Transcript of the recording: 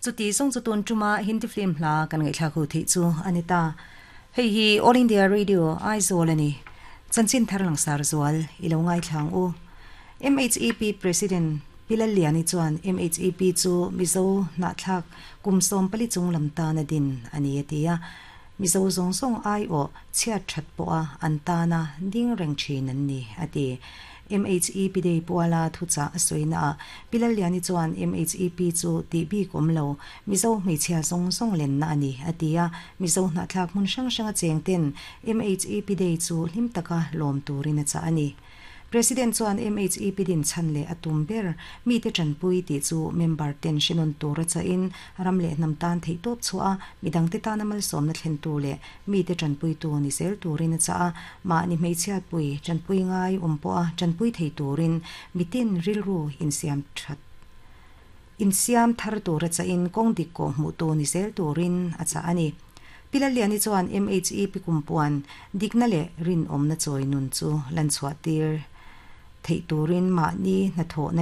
Chuti zawng chu tun tuma Hindi film hla kan ngaihthlak ho theih chu a ni ta. Hei hi All India Radio Aizawl a ni. Chanchin thar langsar zual i lo ngaithla ang u. MHEP President Pi Lalliani chuan MHEP chu Mizo hnahthlak kum 40 chung lam tana din a ni a ti a. Mizo zawng zawng aiawh chhiat that pawha an tana ding reng thin an ni a ti. MHEP Day puala thuchah a sawina ah Pi Lalliani chuan MHEP chu tih bik awm lo, Mizo hmeichhia zawng zawng lenna a ni a ti a. Mizo hnahthlak hmun hrang hranga cheng ten MHEP Day chu hlim taka lawm turin a chah a ni. President chuan MHEP din chhan leh a tum ber mite tanpui tih chu member ten hrenawn tur a chahin ram leh hnam tan theihtawp chhuah a, midangte tana malsawmna thlentu leh mite tanpuitu ni zel turin a chah a, mahni hmeichhiatpui tanpui ngai awm pawha tanpui thei turin mitin rilru insiam that insiam thar tur a chahin kawng dik kawh hmuhtu ni zel turin a chah a ni. Pi Lalliani chuan MHEP kumpuan dikna leh rinawmna chawi nun chu lan chhuah tir theih turin mahni hnathawhna.